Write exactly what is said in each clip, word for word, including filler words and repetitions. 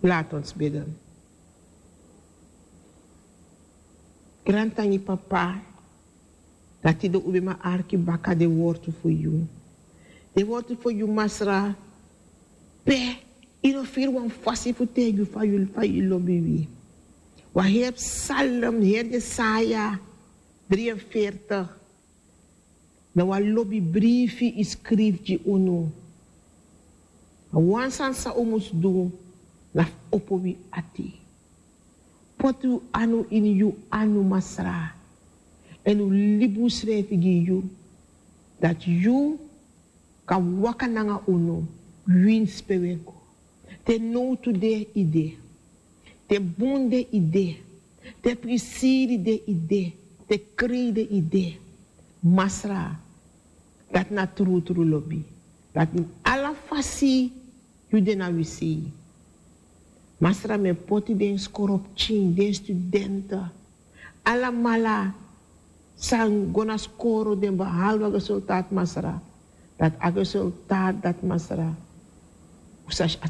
Laat ons bidden. Grantangi papa, dati de ubima arki baka de wortu fu yu. De wortu fu yu masra, pe ino firi wan fasi fu tegi fa yu fa yu lobi wi. Wan heri psalm, heri Jesaja drie en veertig. Na wan lobi brifi yu skrifi gi unu. A wan sani san un mus du, na fu opo wi ati. Poti un anu ini yu anu masra. Èn un libi unsrefi gi yu, dati yu kan waka nanga unu, winsi pe un e go. Te nowtu de yu de, te bun de yu de, te prisiri de yu de, te krei de yu de. Masra, dati na trutru lobi. Dati ini ala fasi yu de na wi sei. Masra, mi e poti den skoro pikin, den studente, alamala san go na skoro, den behalwe a resultaat masra. Dati a resultaat dati masra,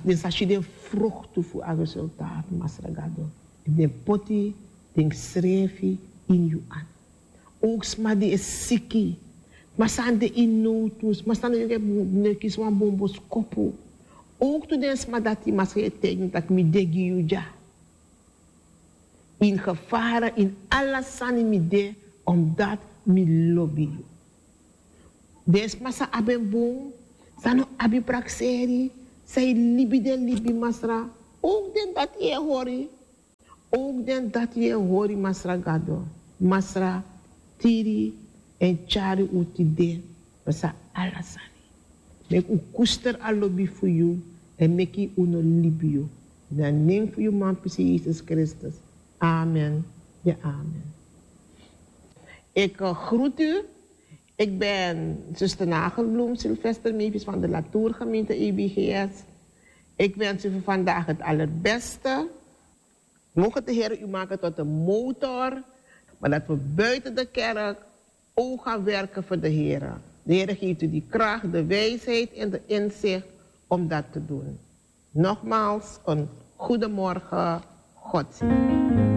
den sa si den fruktu fu a resultaat masra gado. Den poti den srefi ini yu anu. Ook sma di e siki, sma san de ini nowtu, sma san no e kisi wan bun boskopu. Ook tu den sma dati masra e taigi mi tak' mi de gi yu dya. Ini gefara ini ala sani mi de, omdat mi lobi yu. Den sma san abi en bun, san no abi prakseri, san e libi den libi masra, ook den dati yu e hori. Ook den dati yu e hori masra gado, masra, tiri èn tyari un tide, pasa ala sani. Meki un koester a lobi fu yu, èn meki un no libi yu. Na nen fu yu manpisi Yesus Kristus. Amen. Ja, amen. Ik eh, groet u. Ik ben zuster Nagelbloem Sylvester Mevis van de Latourgemeente E B G S. Ik wens u voor vandaag het allerbeste. Mogen de Heer u maken tot een motor, maar dat we buiten de kerk ook gaan werken voor de Heer. De Heer geeft u die kracht, de wijsheid en de inzicht om dat te doen. Nogmaals, een goedemorgen, God zegen.